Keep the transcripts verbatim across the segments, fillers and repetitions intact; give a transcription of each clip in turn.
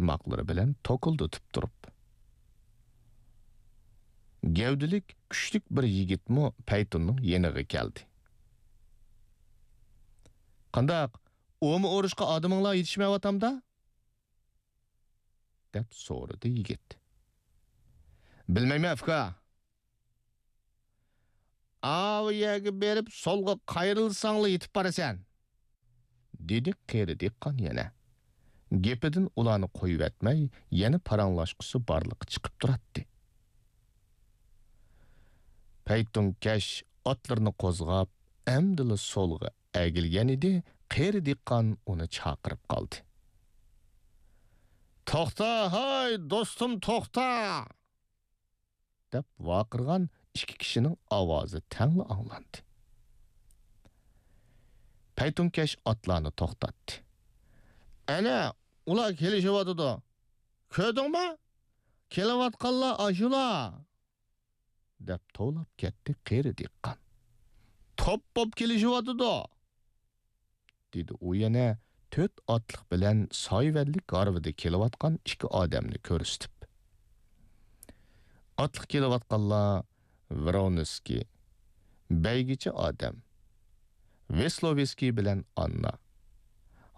بارماقلىرى بىلەن توكۇلدىتىپ تۇرۇپ. گەۋدىلىك، كۈچلۈك بىر يىگىتمۇ پەيتۇننىڭ يېنىغا كەلدى. «قانداق، ئۇمۇ ئۇرۇشقا ئادىمىڭلار يېتىشمەيۋاتامدا؟» دەپ سورىدى يىگىت. «بىلمەيمەن، ئۇكا. ئاۋۇ يەرگە بېرىپ، سولغا قايرىلساڭلا يېتىپ بارىسەن»، دېدى قېرى دېھقان يەنە. گېپىدىن ئۇلارنى قويۇۋەتمەي، يەنە پاراڭلاشقۇسى بارلىققا چىقىپ تۇراتتى. پەيتۇنكەش ئاتلىرىنى قوزغاپ، ئەمدىلا سولغا ئەگىلگەن ئىدى، قېرى دېھقان ئۇنى چاقىرىپ قالدى. «توختا، ھاي، دوستۇم، توختا!» دەپ ۋارقىرىغان ئىككى كىشىنىڭ ئاۋازى تەڭلا ئاڭلاندى. پەيتۇنكەش ئاتلارنى توختاتتى. «ئەنە، ئۇلار كېلىشىۋاتىدۇ. كۆردۈڭمۇ؟ كېلىۋاتقانلار ئاشۇلار!» دەپ توۋلاپ كەتتى قېرى دېھقان. «توپ بوپ كېلىشىۋاتىدۇ!» دېدى ئۇ يەنە تۆت ئاتلىق بىلەن سايىۋەنلىك ھارۋىدا كېلىۋاتقان ئىككى ئادەمنى كۆرسىتىپ. ئاتلىق كېلىۋاتقانلار ۋرونسكىي، بەيگىچى ئادەم، ۋېسلوۋېسكىي بىلەن ئاننا،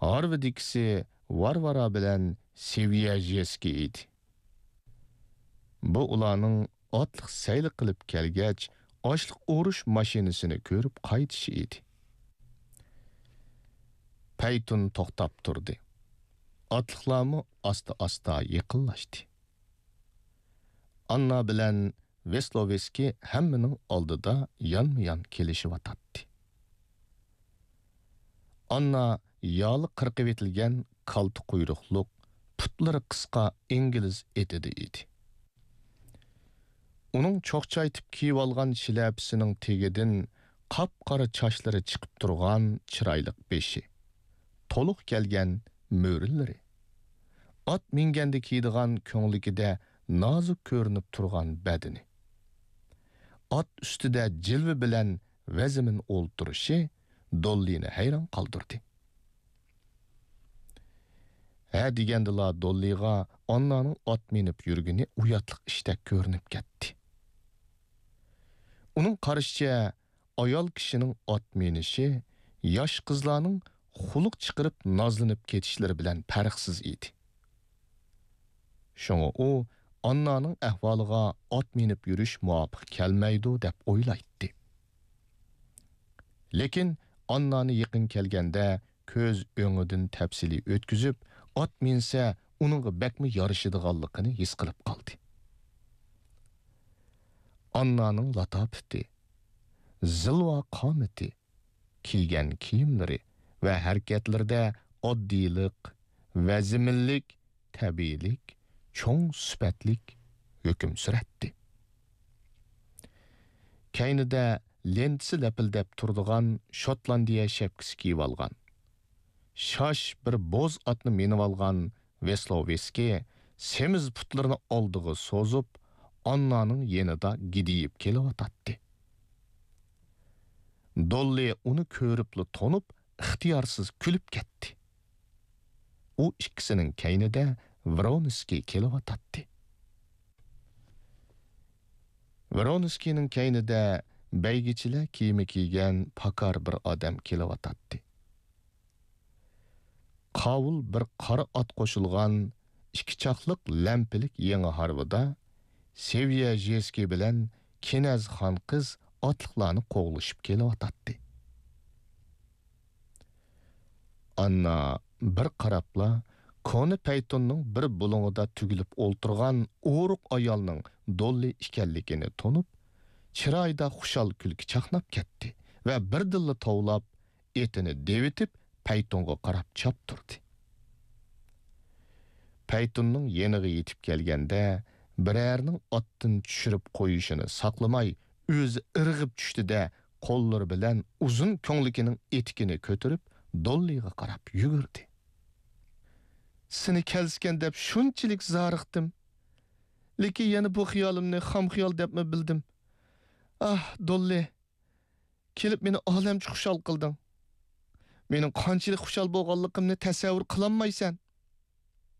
ھارۋىدىكىسى ۋارۋارا بىلەن سېۋيەژېسكىي ئىدى. بۇ ئۇلارنىڭ ئاتلىق سەيلە قىلىپ كەلگەچ، ئاشلىق ئورۇش ماشىنىسىنى كۆرۈپ قايتىشى ئىدى. پەيتۇن توختاپ تۇردى. ئاتلىقلارمۇ ئاستا-ئاستا يېقىنلاشتى. ئاننا بىلەن ۋېسلوۋېسكىي ھەممىنىڭ ئالدىدا يانمۇيان كېلىشىۋاتاتتى. ئاننا يالى قىرقىۋېتىلگەن كالتە قۇيرۇقلۇق، پۇتلىرى قىسقا ئىنگلىز ئېتىدە ئىدى. ئۇنىڭ چوقچايتىپ كىيىۋالغان شىلەپىسىنىڭ تېگىدىن قاپقارا چاچلىرى چىقىپ تۇرغان چىرايلىق بېشى، تولۇق كەلگەن مۈرىلىرى، ئات مىنگەندە كىيىدىغان كۆڭلىكىدە نازۇك كۆرۈنۈپ تۇرغان بەدىنى، ئات ئۈستىدە جىلۋە بىلەن ۋەزمىن ئولتۇرۇشى دوللىنى ھەيران قالدۇردى. ھە دېگەندىلا دوللىغا ئاننانىڭ ئات مىنىپ يۈرگىنى ئۇياتلىق ئىشتەك كۆرۈنۈپ كەتتى. ئۇنىڭ قارىشىچە، ئايال كىشىنىڭ ئات مىنىشى ياش قىزلارنىڭ خۇلق چىقىرىپ نازلىنىپ كېتىشلىرى بىلەن پەرقسىز ئىدى. شۇڭا ئۇ ئاننانىڭ ئەھۋالىغا ئات مىنىپ يۈرۈش مۇۋاپىق كەلمەيدۇ دەپ ئويلايتتى. لېكىن ئاننانى يېقىن كەلگەندە كۆز ئۆڭىدىن تەپسىلىي ئۆتكۈزۈپ، ئات مىنسە ئۇنىڭغا بەكمۇ يارىشىدىغانلىقىنى ھېس قىلىپ قالدى. ئاننانىڭ لاتاپىتى، زىلۋا قامىتى، كىيگەن كىيىملىرى ۋە ھەرىكەتلىرىدە ئاددىيلىق، ۋەزمىنلىك، تەبىئىيلىك، چوڭ سۈپەتلىك ھۆكۈم سۈرەتتى. كەينىدە لېنتىسى لەپىلدەپ تۇرىدىغان شوتلاندىيە شەپكىسى كىيىۋالغان، شاش بىر بوز ئاتنى مىنىۋالغان ۋېسلوۋېسكىي سېمىز پۇتلىرىنى ئالدىغا سوزۇپ، ئاننانىڭ يېنىدا گىدىيىپ كېلىۋاتاتتى. دوللى ئۇنى كۆرۈپلا تونۇپ، ئىختىيارسىز كۈلۈپ كەتتى. ئۇ ئىككىسىنىڭ كەينىدە ۋرونسكىي كېلىۋاتاتتى. ۋرونسكىينىڭ كەينىدە بەيگىچىلەر كىيىمى كىيگەن پاكار بىر ئادەم كېلىۋاتاتتى. قاۋۇل بىر قارا ئات قوشۇلغان ئىككى چاقلىق لەمپىلىك يېڭى ھارۋىدا سېۋيەژېسكىي بىلەن كىنەز خان قىز ئاتلىقلارنى قوغلىشىپ كېلىۋاتاتتى. ئاننا بىر قاراپلا، كونا پەيتۇننىڭ بىر بۇلۇڭىدا تۈگۈلۈپ ئولتۇرغان ئورۇق ئايالنىڭ دوللى ئىكەنلىكىنى تونۇپ، چىرايىدا خۇشال كۈلكە چاقناپ كەتتى ۋە بىردىنلا توۋلاپ، ئېتىنى دېۋىتىپ، پەيتۇنغا قاراپ چاپتۇردى. پەيتۇننىڭ يېنىغا يېتىپ كەلگەندە، بىرەرىنىڭ ئاتتىن چۈشۈرۈپ قويۇشىنى ساقلىماي، ئۆزى ئىرغىپ چۈشتى-دە، قوللىرى بىلەن ئۇزۇن كۆڭلىكىنىڭ ئېتىكىنى كۆتۈرۈپ، دوللىغا قاراپ يۈگۈردى. سېنى كەلسىكەن دەپ شۇنچىلىك زارىقتىم. لېكىن يەنە بۇ خىيالىمنى خام خىيال دەپمۇ بىلدىم. ئاھ، دوللى! كېلىپ مېنى ئالەمچە خۇشال قىلدىڭ. مېنىڭ قانچىلىك خۇشال بولغانلىقىمنى تەسەۋۋۇر قىلالمايسەن.